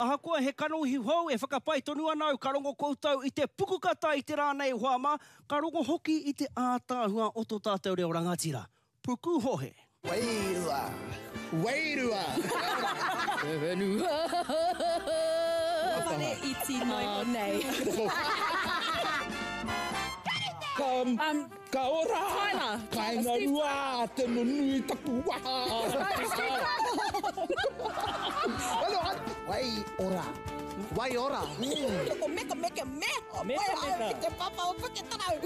Ahakoa he kanohi hou e whakapai tonu ana au ka rongo koutou i te pukukata i te rā nei hoa mā, ka rongo hoki i te ātaahua o tō tātou reo rangatira. Pukuhohe. Wairua! Wairua! Te whenua! Whare iti noa iho nei. Ka Ka ora! Tyler! Kainga rua te nunui taku waha! Wai ora! Wai ora! Ko meka meka me! Meka meka! Ki te papa o Puketarau!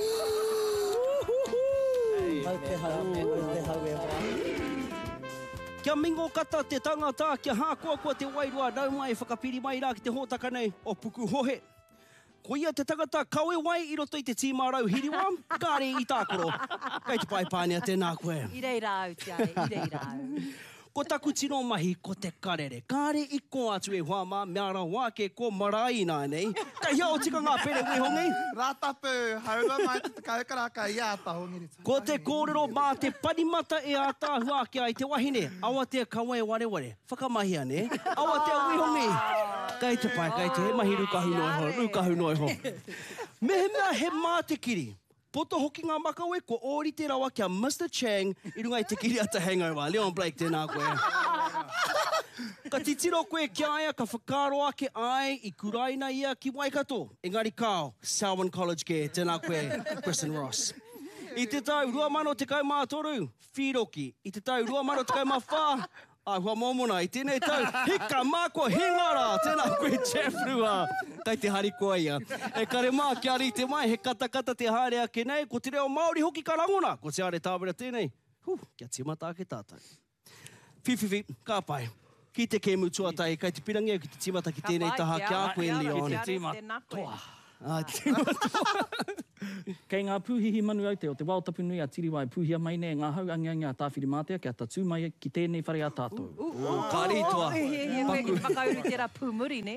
Mau te hau, mau te hau e hoa. Kia mingo kata te tangata, kia hākoakoa te wairua, nau mai whakapiri mai rā ki te hōtaka nei o Pukuhohe. Ko ia te tangata kawe wai i roto i te tīma rauhiriwa, kāre i tākaro. Kei te pae pānia tēnā koe. I reira au, Tiare, i reira au. Ko taku tino mahi ko te karere. Kāre i kō atu e hoa mā, mea rawa ake ko marae ināianei. Kei hea o tika ngā pere wehongi? Rātapu, haurua mai te 10 karaka i Ātahongiri. Ko te kōrero mā te panimata e ātaahua ake ai te wahine. Awatea kaua e wareware. Whakamahia, nē? Awatea wihongi! Kei te pai, kei te, he mahi rūkahu noa iho, rūkahu noa iho. Mehemea he mā te kiri, poto hoki ngā makawe, kua ōrite rawa ki a Mister Chang i runga i te kiriata Hangover. Leon Blake, tēnā koe. Ka titiro koe ki a ia, ka whakaaro ake, āe, i kuraina ia ki Waikato. Engari kāo, Selwyn College kē, tēnā koe, Kristen Ross. I te tau 2013, whīroki, i te tau 2014, āhua mōmona, i tēnei tau, hika mā kua hinga rā, tēnā koe Jeff Rua, kei te harikoa ia. E kare mā, kia rite mai, he katakata te haere ake nei, ko te reo Māori hoki ka rangona, ko Te Are Tāwera tēnei, huh, kia tīmata ake tātou. Whiwhiwhi, ka pai. Ki te kēmu tuatahi, kei te pirangi au ki te tīmata ki tēnei taha ki a koe, Leon. Ki te tīma toa. Ā, tīma toa. Kei ngā pūhihi manu aute o te wao tapu nui a Tiriwa e pūhia mai nei e ngā hau angiangi a Tāwhirimātea kia tatū mai ki tēnei whare a tātou. Ka ritoa. Ū, ū, ū, koe ki te whakauru i tērā pūmuri, nē?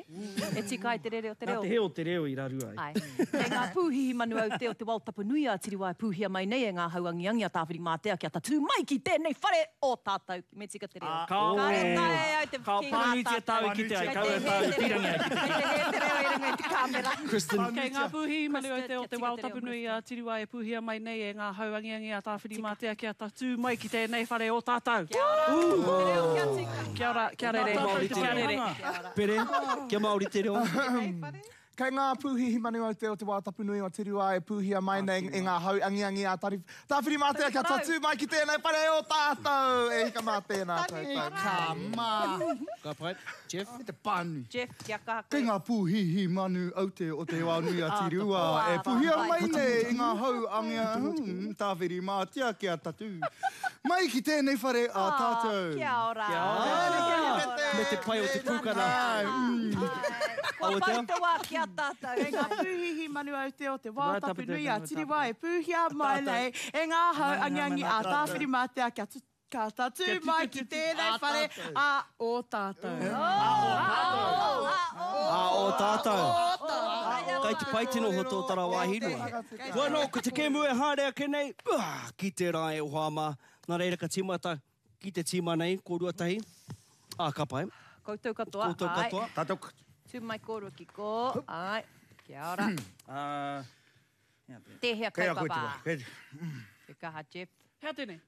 E tika ai te rere o te reo. Nā te hē o te reo i raru ai. Āe. Kei ngā pūhihi manu aute o te wao tapu nui a Tiriwa e pūhia mai nei e ngā hau angiangi a Tāwhirimātea kia tatū mai ki tēnei whare o tātou. Me tika te reo. Kāre taea e au te Ka kī ngā pānuitia tāu i kite ai, kaua e tāu i pīrangi ai ki te Kei te hē te reo i runga i te kāmera. Kristen. Kei ngā pūhihi manu aute o te wao tapu nui a Tiriwa e pūhia mai nei e ngā hau angiangi a Tāwhirimātea kia tatū mai ki tēnei whare o tātou. Kia ora. Te reo kia tika. Kia ora, kia rere. Kia rere. Pere, kia Māori te reo. Kei ngā pūhihi manu aute o te wā tapu nui o Te Rua e pūhia mai nei e ngā hau angiangi a Tāwhirimātea kia tatū mai ki tēnei whare o tātou! E hika mā tēnā koutou. Ka mā. Ka pai. Jeff? Me te pānui. Jeff, kia kaha koe. Kei ngā pūhihi manu aute o te wā nui a Te Rua e pūhia mai nei i ngā hau angiangi Tāwhirimātea kia tatū mai ki tēnei whare a tātou. Kia ora. Kia ora. Me te pai o te pūkana. Kua pau te wā ki a tātou. Kei ngā pūhihi manu aute o te wao tapu nui a Tiriwa e pūhia mai nei e ngā hau angiangi a Tāwhirimātea kia ka tatū mai ki tēnei whare a ō tātou. A ō tātou. Kai te pai te noho tōtara wāhi rua. Hoi anō, ko te kēmu e haere ake nei, ki te rae o Hāmā. Nā reira ka tīmata Ki te tīma nei, kōrua tahi. Ā, ka pai. Koutou katoa, Koutou āe. katoa. Tātou katoa. Tū mai kōrua ki kō, āe. Kia ora. Ā, hea tēnei? Tēhea Kei a koe te kaupapa? wā. Kei... Te kaha, Jeff. Hea tēnei?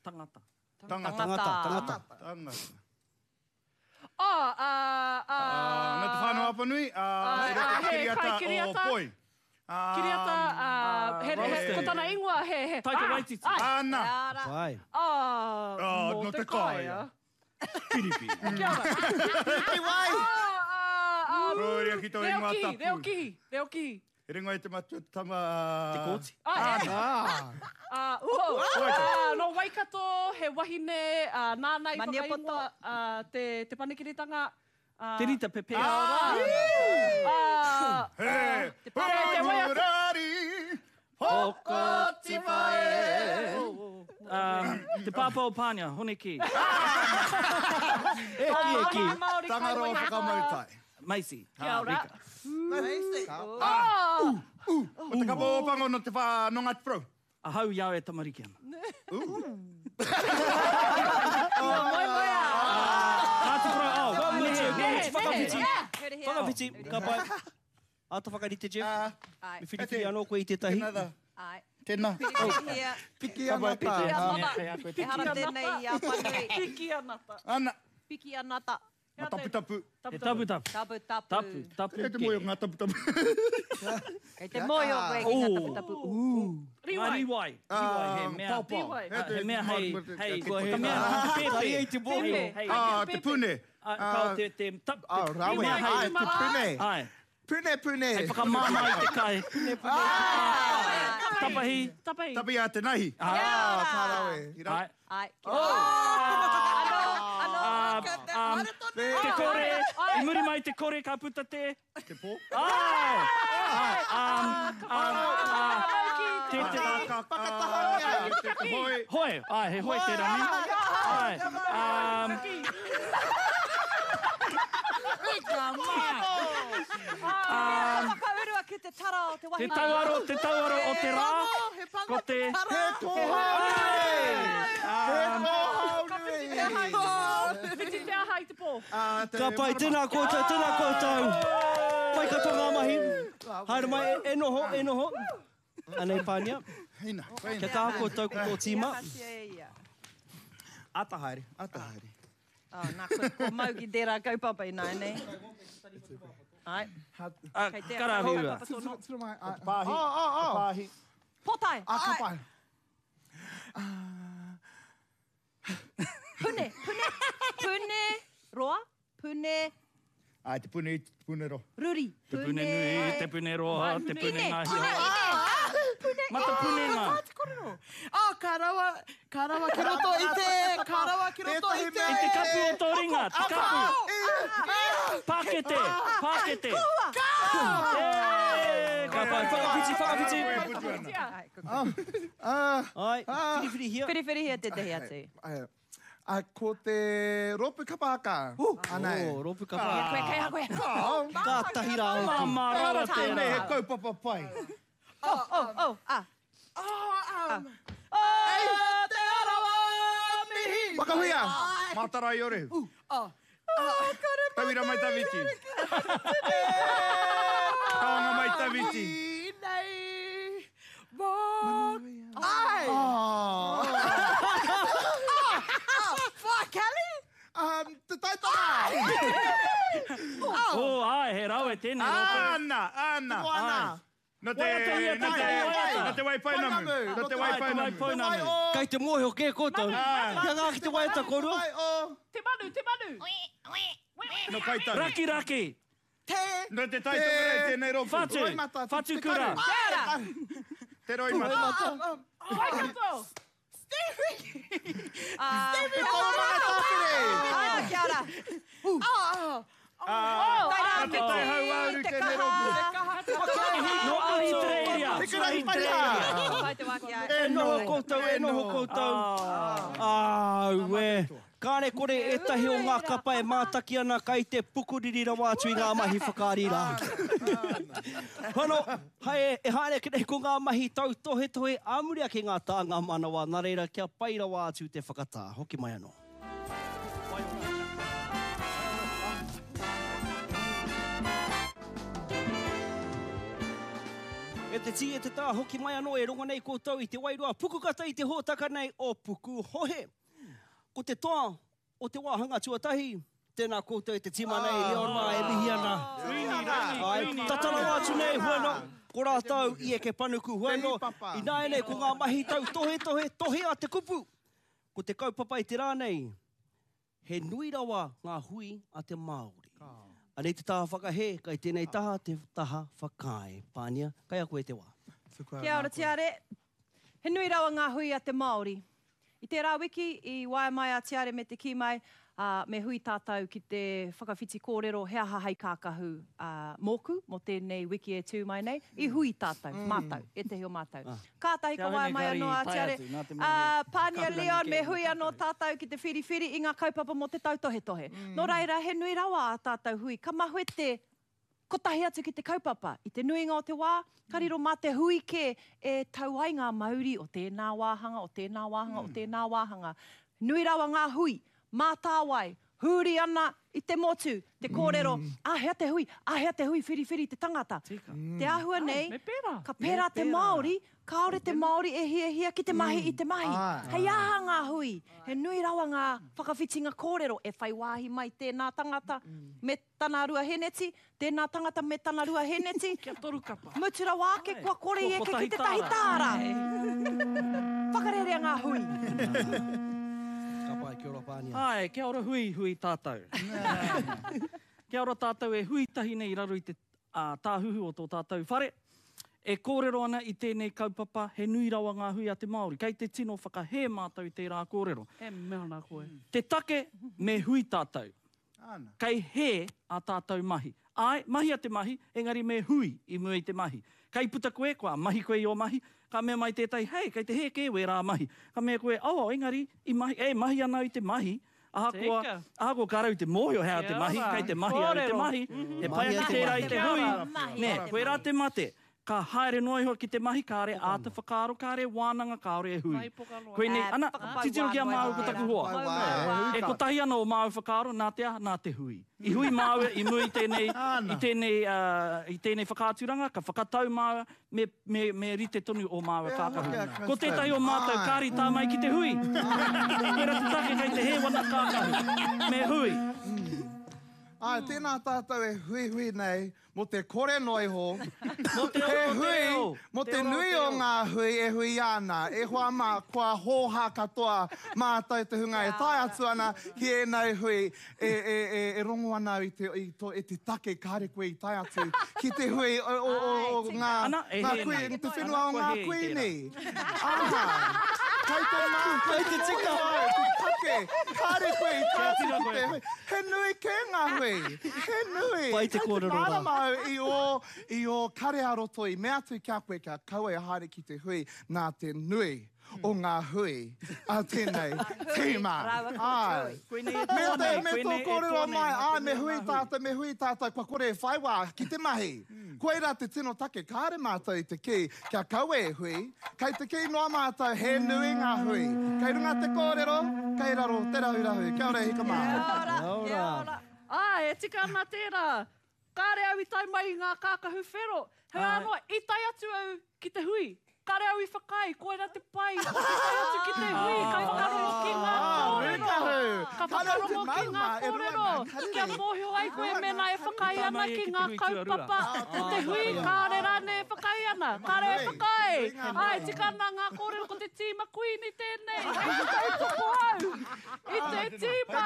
Tangata. Tangata. Tangata, tangata. Tangata. Oh, ā, ā. Nō Te Whānau-a-Apanui, ā, i roto i te kiriata o Poi. Kiriata, ā, he, he, ko tana ingoa he, he. Taika Waititi. Āna. Pai. Ā, nō te kāea. Piripi. Kia ora. Piripi wai! Ā, ā, ā. Koria ki tō ingoa tapu. Reo kihi, reo kihi, reo kihi. He ringa i te matua te tama a. Te Kooti. Ā, uho. Ā, nō Waikato, he wahine, ā, nāna i whakaingoa, ā, te, te panekiretanga, ā. Te Rita Pepe. Ā, He, te pare, te waiata. Hokotipa e. Ā, te pāpā o Pānia, Hone Kī. E kī, e kī. Tangaroa whakamautai. Macy. Kia ora. Macy. Oh! O te kapa o Pango no te wha, no Ngāti Porou. Ahau i a au e tamariki ana. Moemoeā. Ngāti Porou, oh. Whakawhiti. Whakawhiti. Ka pai. Āta whakarite, Jeff. Me whiriwhiri anō koe i tētahi. Ai. Tēnā. Whiriwhirihia. Piki ana tā. Ehara tēnei i a Whanui. Piki anata. Ana. Piki anata. Ngā taputapu. He taputapu. Taputapu. Tapu, tapu Kei te mōhio ngā taputapu. Kei te mōhio koe ki ngā taputapu. Rīwai. Rīwai. Rīwai, he mea. Pāpā. He mea hei, hei, he mea ki te pēpē. Kai te mōhio. Hei, Te pune. Kao te, te, tap, te, Rawe. mea hei. Ai, te pune. Ai. Pune, pune. Hei whakamāmā i te kai. Pune, pune. Tapahi. Tapahi. Tapahi a te nahi. Ah, ka rawe. Ai. Ai. Anō, anō. Te kore, i muri mai te kore ka puta te... Te pō. Ai! Te te... Whakatahangia. Te hoi. Hoi! Ai, he hoi tērā, ne? Ai. Whakaurua ki te tara o te Te wahine. tauaro, te tauaro o te rā. Ko te... He kōhao nui. He kōhao nui. Whiti te aha i te pō. Ka pai, tēnā koutou, tēnā koutou. Pai katoa ngā mahi. Haere mai, e noho, e noho. Anei, Pānia. Heina. Kia kaha koutou ko tō tīma. Ata haere, ata haere. Oh, nā, koe, kua mau ki tērā kaupapa ināianei. Ai. Kei te Karawhiua. kaupapa tōna. Tiro mai. Te pāhi. Oh, oh, oh. Pāhi. Pōtae. Ah, ka pai. Pune, pune, pune, roa, pune, Ai, te pune, te pune roa. ruri. Te pune nui, te pune roa, te pune Ine, ngā ine, hia. ine. Matapunenga. Oh, ka rawa, ka rawa ki roto i te, ka rawa ki roto i te. I te kapu o tō ringa, te kapu. Pākete, pākete. E, Ka pai, whakawhiti, whakawhiti. Ai, Ai, whiriwhirihia. Whiriwhirihia tētahi atu. Ai, ko te rōpū kapa haka. Anei. Oh, rōpū kapa haka. Koe, kei a koe. Ka tahi rā hoki. Māmā rawa Tēnei tērā. he kaupapa pai. Oh, oh, oh, ah. Oh, Oh, te arawa mihi. Whakahuia. Mātarai ore. Oh. Tauira mai tawhiti. Taonga mai tawhiti. Nei, mō... Ai! Oh. Wha, Kelly? Te taitara. Oh, ai, he rawe tēnei rōpū. Ana, ana. Moana. No te, Waiatahia no te, tētahi waiata. no te waipounamu. No te Ai, te waipounamu. waipounamu. Kei te mōhio kē koutou. Kia ngā ki te waiata kōrua. Wai o. Te manu, te manu! No kaitahi. Raki, raki. Te. No te taitokerei tēnei rōpū. Whatu, Roimata, te- whatu te kura. karu. Te roimata. Waikato! Te taumanga tāwhiri. Ah, kia ora. Oh, Ah, Tairāwhiti, te tai hauāuru te tēnei kaha. rōpū. No Ahitereiria. Hikurangi pariha. Pai te wā ki a. E noho koutou, e noho koutou. Aue. Kāre kore ētahi o ngā kapa e mātaki ana kai te pukuriri rawa atu i ngā mahi whakaari rā. Hono, hae, e haere ake nei ko ngā mahi tautohetohe ā muri ake ngā tānga manawa, nā reira kia pai rawa atu te whakatā. Hoki mai anō. E te tī, e te tā, hoki mai anō e rongo nei koutou i te wairua pukukata i te hōtaka nei o Pukuhohe. Ko te toa o te wāhanga tuatahi, tēnā koutou e te tīma nei, Leon mā e mihi ana. Ai, tata rawa atu nei, huano, ko rātou i eke panuku, huano, ināianei ko ngā mahi tautohetohe, tohe a te kupu. Ko te kaupapa i te rā nei, he nui rawa ngā hui a te Māori. Anei te taha whakahē, kai tēnei taha te taha whakaae. Pānia, kai a koe te wā. Kia ora Tiare. He nui rawa ngā hui a te Māori. I tērā wiki, i waea mai a Tiare me te kī mai, ā, me hui tātou ki te whakawhiti kōrero he aha hei kākahu, ā, mōku, mō tēnei wiki e tū mai nei. I hui tātou, mātou, ētehi o mātou. Kātahi ka waea mai anō a Tiare, ā, Pānia Leon, me hui anō tātou ki te whiriwhiri i ngā kaupapa mō te tautohetohe. Nō reira, he nui rawa ā tātou hui. Ka mahue te kotahi atu ki te kaupapa. I te nuinga o te wā, ka riro mā te hui kē e tau ai ngā mauri o tēnā wāhanga, o tēnā wāhanga, o tēnā wāhanga. Nui rawa ngā hui, mātāwai, Huri ana i te motu, te kōrero, āhea te hui, āhea te hui whiriwhiri te tangata. Te āhua nei, ka pērā te Māori, kāore te Māori e hiahia ki te mahi i te mahi. Hei aha ngā hui? He nui rawa ngā whakawhitinga kōrero e whai wāhi mai tēnā tangata me tana ruaheneti, tēnā tangata me tana ruaheneti. Kia torukapa. Mutu rawa ake kua kore i eke ki tētahi tāra. Whakarērea ngā hui. Ka pai, kia ora Pānia. Āe, kia ora hui, hui tātou. Kia ora tātou e hui tahi nei i raro i te tāhuhu o tō tātou whare. E kōrero ana i tēnei kaupapa, he nui rawa ngā hui a te Māori. Kei te tino whakahē mātou i tērā kōrero. E mea ana koe. Te take, me hui tātou. Kei hē ā tātou mahi. Āe, mahia te mahi, engari me hui i mua i te mahi. Kei puta koe, kua mahi koe i ō mahi, ka mea mai tētahi, hei, kei te hē kē wērā mahi. Ka mea koe, oh, engari, i mahi, e mahi ana au i te mahi, ahakoa, ahakoa kāre au i te mōhio he aha te mahi, kei te mahi au i te mahi, he pai ake tērā i te hui, nē, koirā te mate. Ka haere noa iho ki te mahi, kāre āta whakaaro, kāre wānanga, kāore e hui. Koinei, ana, titiro ki a māua ko taku hoa. E kotahi ana o māua whakaaro, nā te aha, nā te hui. I hui māua i mua i tēnei, i tēnei, i tēnei whakaaturanga, ka whakatau māua, me, me, me rite tonu ō māua kākahu. Ko tētahi o mātou, kāre i tā mai ki te hui. Koirā te take kei te hē wana kākahu. Me hui. Āe, tēnā tātou e huihui nei Mō te kore noa iho, he hui, mō te nui o ngā hui e huia ana, e hoa mā, kua hōhā katoa mātou te hunga e tae atu ana ki ēnei hui, e, e, e, e rongo ana au i te, i to, i te take kāre koe i tae atu ki te hui o, o, o, o ngā, ngā kui, te whenua o ngā kuini. Ā, kei te mā, kei te tika au, te take, kāre koe i tae atu ki te hui. He nui kē ngā hui. He nui. Pai te Kei te kōrero rā. mārama au i ō, i ō kare ā-roto i mea atu ki a koe kia kaua e haere ki te hui nā te nui o ngā hui a tēnei tīma. Āe. Koinei e Me toa te, nei, me tō koinei e kōrero toa nei mai, nā āe, te me nui o hui ngā hui. tātou, me hui tātou, kua kore e whai wā ki te mahi. Koirā te tino take, kāre mātou i te kī kia kaua e hui, kei te kī noa mātou he nui ngā hui. Kei runga te kōrero, kei raro te rahurahu. Kia ora e hika mā. Kia ora, kia ora. Āe, e tika ana tērā. Kāre au i tae mai i ngā kākahu whero. Heoi anō, i tae atu au ki te hui. Kare au i whakaae, koira te pai o te tae atu ki te hui, ka whakarongo ki ngā kōrero, ka whakarongo ki ngā kōrero, kia mōhio ai koe mēnā e whakaae ana ki ngā kaupapa o te hui, kāore rānei e whakaae ana, kāore e whakaae. Āe, tika ana ngā kōrero, ko te tīma Kuini tēnei, hei te tautoko au i te tīma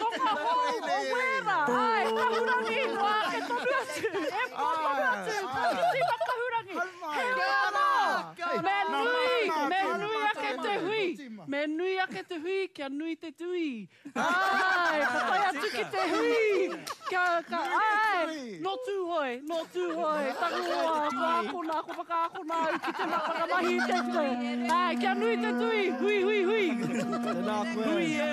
tonga hou o Wēra, āe, kahurangi, noa ake tonu atu, e pō tonu atu, ko te tīma kahurangi. Heoi anō, me nui, me nui ake te hui, me nui ake te hui kia nui te tui. Āe, ka tae atu ki te hui, kia, ka, āe, nō Tūhoe, nō Tūhoe, taku hoa, kua akona, kua whakaakona au ki te whakamahi i te tui. Āe, kia nui te tui, hui, hui, hui. Tēnā koe. Hui e,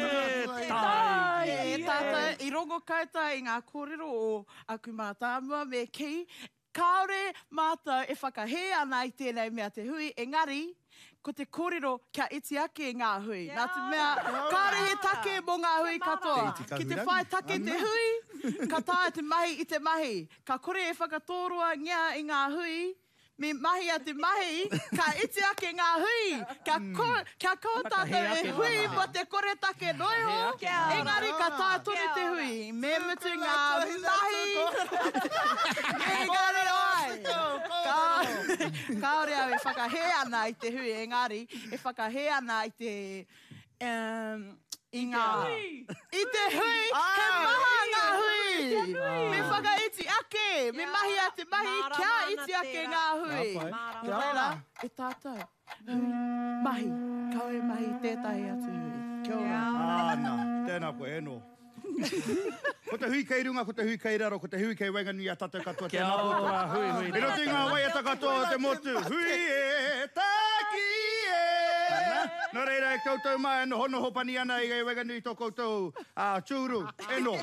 tai. E tātou, i rongo koutou i ngā kōrero o aku mātāmua me kī, Kāore mātou e whakahē ana i tēnei mea te hui, engari, ko te kōrero kia iti ake ngā hui. Nā te mea, kāore he take mō ngā hui katoa. Ki te whai take te hui, ka taea te mahi i te mahi. Ka kore e whakatōroangia i ngā hui, me mahia te mahi, ka iti ake ngā hui. Kia kia kaua tātou e hui mō te koretake noa iho, engari ka taea tonu te hui. Me mutu ngā mahi, engari ai, kāore au e whakahē ana i te hui, engari e whakahē ana i te, i ngā, i te hui, he maha ngā hui! Me whakaiti ake, me mahia te mahi kia iti ake ngā hui. Nō reira, e tātou. Hui, mahi, kaua e mahi i tētahi atu hui. Kia ora. Āna, tēnā koe, e no. Ko te hui kei runga, ko te hui kei raro, ko te hui kei waenganui i a tātou katoa, Kia tēnā koutou. ora, hui, hui. I roto i ngā waiata katoa o te motu, hui e, taki e! Ana, nō reira e koutou mā e nohonoho pani ana i waenganui i tō koutou tūru, e no.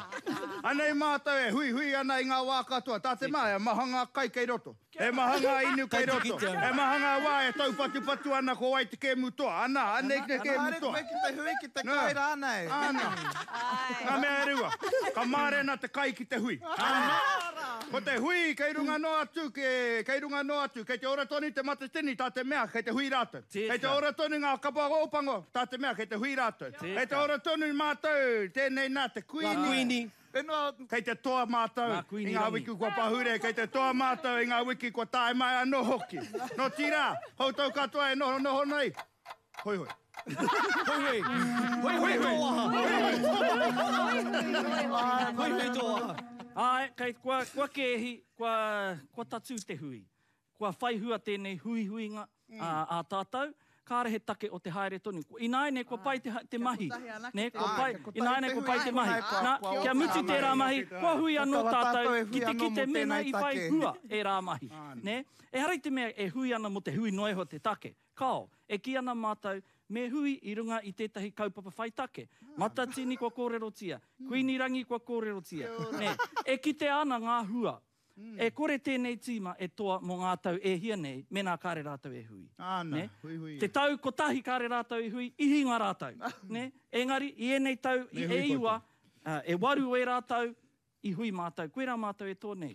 Anei mātou e huihui ana i ngā wā katoa, tā te mea, he maha ngā kai kei roto, he maha ngā inu kei roto, he maha ngā wā e taupatupatu ana ko wai te kēmu toa, ana, anei te kēmu Haere toa. koe ki te hui, ki te kai rānei. Ana. Ngā mea e rua, ka mārena te kai ki te hui. Ana. Ko te hui kei runga noa atu, kei runga noa atu, kei te ora tonu te matatini, tā te mea, kei te hui rātou. Kei te ora tonu ngā kapa ōpango, tā te mea, kei te hui rātou. Kei te ora tonu mātou, tēnei nā te Kuini. Ngā Kuini. Kei te toa mātou i ngā wiki kua pahure, kei te toa mātou i ngā wiki kua tae mai anō hoki. Nō tīrā, koutou katoa e nohonoho nei, hoihoi. Hoihoi. Hoihoi tō waha. Hoihoi tō waha. Āe, kei, kua, kua kēhi, kua, kua tatū te hui. Kua whai hua tēnei huihuinga ā tātou, kāre he take o te haere tonu. Ināianei kua pai te, te mahi, nē, kua pai, ināianei kua pai te mahi. Nā, kia mutu tērā mahi, kua hui anō tātou ki te kite mēnā i whai hua ērā mahi, nē. Ehara i te mea e hui ana mō te hui noa iho te take, kāo. E kī ana mātou, me hui i runga i tētahi kaupapa whai take. Matatini kua kōrerotia, Kuini Rangi kua kōrerotia, nē. E kitea ana ngā hua E kore tēnei tīma e toa mō ngā tau e hia nei mēnā kāre rātou e hui. Āna, Nē? huihui. Te tau kotahi kāre rātou i hui, i hinga rātou. Nē? Engari, i ēnei tau, i Me hui e iwa, e waru o ērā tau, i hui mātou. Koirā mātou e toa nei.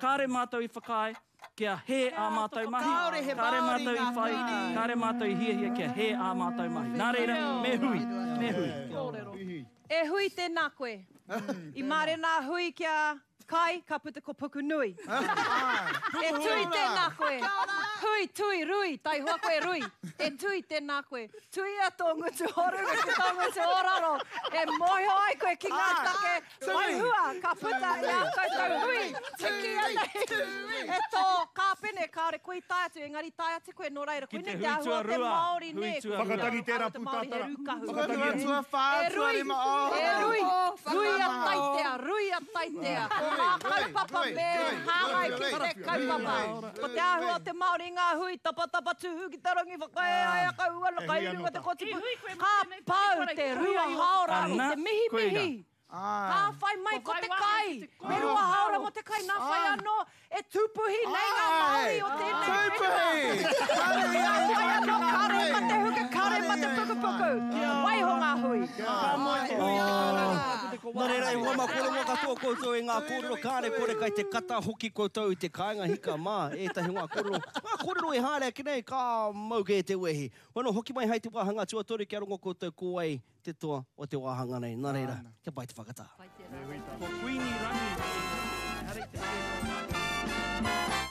Kāre mātou i whakaae kia hē ā mātou mahi, Kāore he kāre Māori mātou i ngā whai, kuini. kāre mātou i hiahia kia hē ā mātou mahi. Nā reira, me hui, me hui. Kōrero. E hui tēnā koe. I mārena a hui kia Kai, ka puta ko Pukunui. E tui tēnā koe. Hui, tui, rui, taihoa koe rui. E tui tēnā koe. Tuia tō ngutu o runga ki tō ngutu o raro. E mōhio ai koe ki ngā take whai hua ka puta i ā koutou hui. Te kīia nei e tō kāpene kāore koe i tae atu, engari tae atu koe nō reira Ki te koinei hui te āhua o te tuarua, Māori hui nē. tuarua. Whakatangi tērā Te Māori he pūtātara. rūkahu. Whakatangi Tuarua, tuawhā, E rui, tuarima, oh. e rui, ruia taitea, ruia taitea. Ko ngā kaupapa me hāngai ki te kaupapa. Ko te āhua o te Māori i ngā hui tapatapa tū ki te rangi whakaea kau ana kai runga te kōtipu. Ka pau te rua hāora i te mihimihi. Ka whai mai ko te kai. Me rua hāora mō te kai, nā whai anō e tūpuhi nei ngā Māori o tēnei whenua. Nā whai anō kare ma te huka, kare ma te pukupuku. Waiho ngā hui. Ka moe te hui i te kōrero, ka puta ko Nā reira, e wāhine. hoa mā, kua rongo katoa koutou i ngā kōrero, kāre kore kai te kata hoki koutou i te kāinga hika mā ētahi o ngā kōrero, ngā kōrero e haere ake nei, ka mau kē te wehi. Hono, hoki mai hai te wāhanga tuatoru kia rongo koutou ko wai te toa o te wāhanga nei. Nā reira, kia pai te whakatā. Ko Kuini Rangi ehara i te whenua Māori.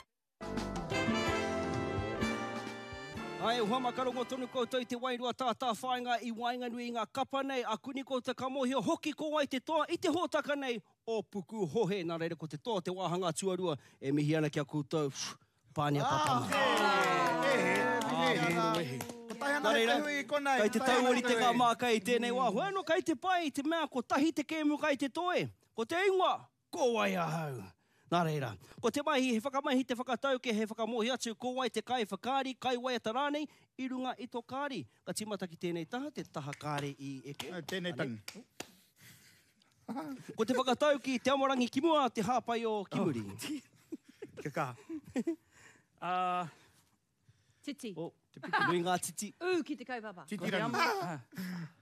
Ae, hoa ma ka rongo tonu koutou i te wairua tātāwhāinga i waenganui i ngā kapa nei, a kuni koutou ka mōhio hoki ko wai te toa i te hōtaka nei o Pukuhohe. Nā reira, ko te toa o te wāhanga tuarua e mihi ana ki a koutou. Pānia papanga. Nā reira, kei te tauorite ngā māka i tēnei wā. Hoi anō, kei te pai i te mea kotahi te kēmu kai te toe. Ko te ingoa, ko wai ahau? Nā reira, ko te mahi he whakamahi te whakatauke he whakamōhio atu ko wai te kaiwhakaari, kaiwaiata rānei i runga i tō kāri. Ka tīmata ki tēnei taha, te taha kāre i eke. Tēnei tangi. Ko te whakatauki, te amorangi ki mua, te hāpai o ki muri. Kia kaha. Ā. Titi. Oh, te piki nui ngā titi. Ū ki te kaupapa. Titi rangi.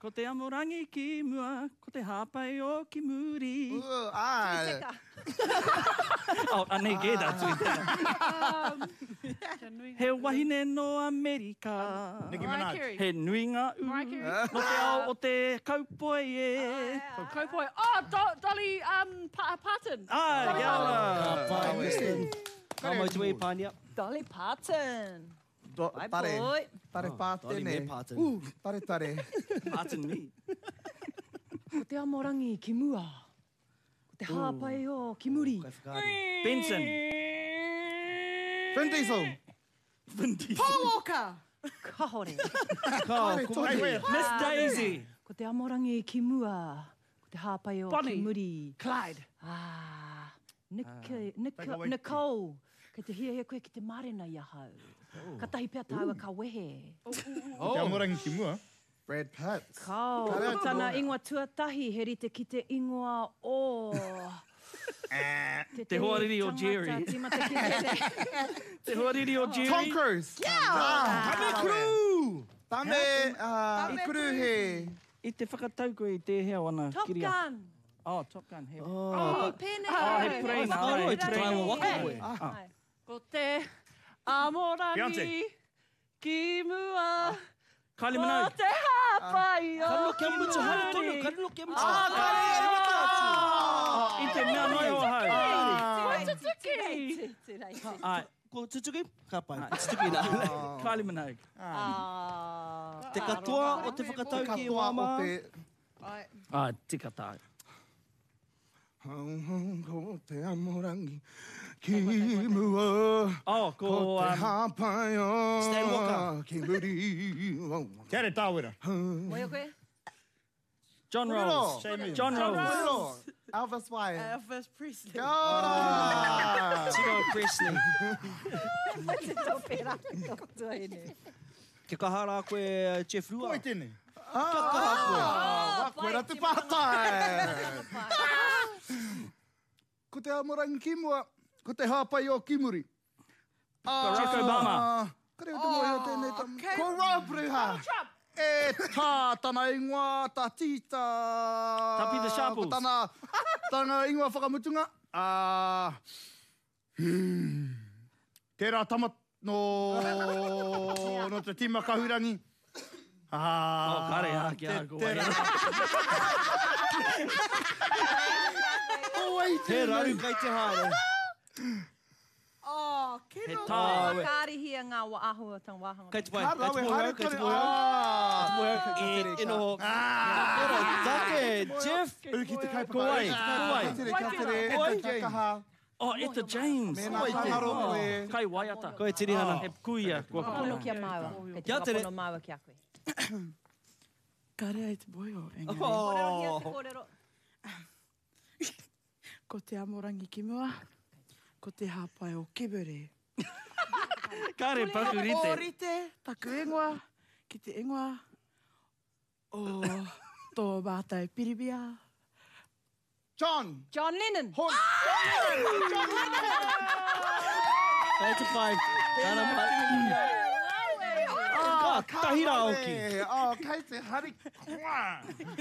Ko te amorangi ki mua, ko te hāpai o ki muri. Ū, āe. Teka. Oh, anei kē tā tui teka. He wahine nō Amerika. Nicki Minaj. He nui ngā ū. Nō te ao o te kaupoi e. Kaupoi. Oh, Dolly Parton. Āe, kia ora. Ka pai, Kristen. Ka mau te wei, Pānia. Dolly Parton. Do, Bye, tare. boy. Tare Oh, pātene. Dolly me Parton. Ū, tare tare. Parton me. Ko te amorangi ki mua. Ko te hāpai o ki muri. Kaiwhakaari. Benson. Vin Diesel. Vin Diesel. Paul Walker. Kahore. Ka, ko wai. Miss Daisy. Ko te amorangi ki mua. Ko te hāpai o ki Bonnie. muri. Clyde. Ah, Nic, Nic, Nicole. Kei te hiahia koe ki te mārena i ahau. Katahi pea tāua ka wehe. Ko te amorangi ki mua. Brad Pitt. Kao, ko tana ingoa tuatahi he rite ki te ingoa o Te hoariri o Jerry. Tīmata ki te Te hoariri o Jerry. Tom Cruise. Tame Cruise! Tame Cruise. I te whakatau koe i tēhea o ana Top kiriata? Gun. Oh, Top Gun. He, Oh, pēnei. oh, he praina. Whakaaro He i te praina. taima waka koe. Ko te amorangi Beyonce. ki mua. Kylie Ko Minogue. te hāpai o Ka riro kia mutu haere tonu, ka riro kia mutu haere. Oh, I te mea noa iho ahau. Kua tutuki. Ai, Ko tutuki? Ka pai. Ko tutuki nā. Kylie Minogue. Te katoa o te whakatau ki Katoa o wāmā. te... Ah, tika tāu. Ko te amorangi ki mua. Oh, ko... Ko te hāpai o Stan Walker. ki muri. Te are tāwera. Moio koe? John Rolls. John Rolls. Kōrero. Elvis Wyatt. Elvis Presley. Kia ora! Tino Presley. Te tōpera, tō tuahine. Kia kaha rā koe, Jeff Rua. Koi tēnei. Kia kaha koe. Ah, koera te pātai. Ko te amorangi ki mua, ko te hāpai o ki muri. Barack Obama. Kare o te moe o tēnei tam. Ko Rob Ruha. E tā tana ingoa, tā tīta. Tā Peter Sharples. Ko tana, tana ingoa whakamutunga. Tērā tama no, no te tīma kahurangi. Oh, kare, ah, kia ko wai. He raru kei te haere. Oh, He kino. tā. Whakaarihia ngā āhuatanga wāhanga. Kei te pai. Ka Kei te rawe moe haere au, kei te tonu. moe au. Ah. Moe au, e noho. Ora, take, Jeff. Uki te kaupapa. Ko wai, ko wai. Ka tere, ka tere. Ko wai? Ka kaha. Oh, Etta James. Mēnā tāngaro koe. Kai waiata. Koe Tirihana. He kuia. Kua Pono ki a māua. Kei te Kia tere. whakapono māua ki a koe. Kare ai te boio, engari. Kōrerohia te kōrero. Ko te amorangi ki mua, ko te hāpai o Kibere. Kare paku rite. O rite, taku ingoa, ki te ingoa o tō mātou piribia. John. John Lennon. Horn. Kei te pai. Kāna mai. Ka tahi rā oki. Oh, kei te hari.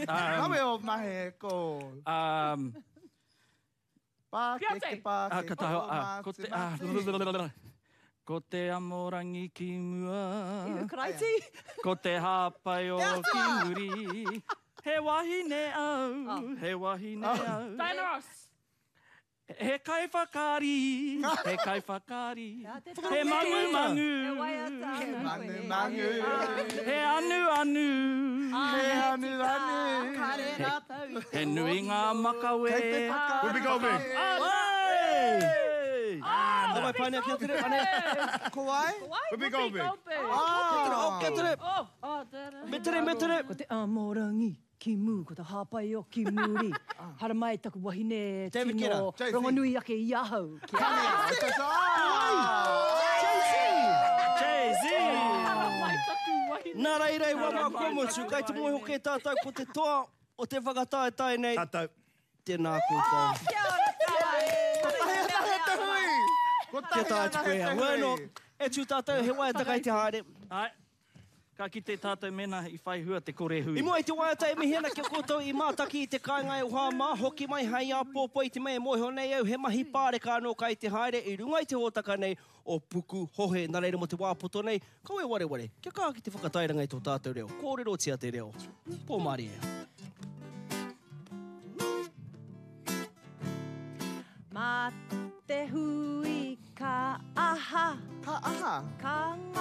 Rawe o mahe ko. Pākeke, Ah, pākeke. ka taho, ah, ko te, ah, ko te amorangi ki mua. Ihu Karaiti. Ko te hāpai o ki muri. He wahine au, he wahine au. Diana Ross. He kai whakaari, he kai whakaari. He mangu mangu. He waiata. He mangu mangu. He anu anu. He anu anu. Kare rātou i te He nui ngā makawe. Kei te whaka. Whoopi Goldberg. Hey! Nā mai pānea kia tere. Ane. Ko wai? Whoopi Goldberg. Oh, kia tere. Oh, oh, da, da. Me tere, me tere. Ko te amorangi ki mū, ko te hāpai o ki muri. Hara mai taku wahine David tino Guetta. rongonui ake i ahau. Kia Jay-Z! Hara mai taku wahine. Nā reira i wama kua motu, kai te moe hoki tātou ko te toa o te whakataetae nei. Tātou. Tēnā koutou. Kia ora tāi. Kotahi anahe te hui. Kia Kotahi tae atu anahe koe. te Bueno, hui. e tū tātou, he waiata kai te haere. Ai, ka kite tātou mēnā i whai hua te kore hui. I mua i te waiata e mihi ana kia koutou i mātaki i te kāinga e hoa mā, hoki mai hai āpōpō i te mea e mōhio nei au, he mahi pāreka anō kai te haere i runga i te hōtaka nei o Puku Hohe. Nā reira mō te wā poto nei, kau e wareware, kia kaha ki te whakatairanga i tō tātou reo. Kōrerotia te reo. Pō mārie. Mā te hui ka aha, Ka aha. ka ngā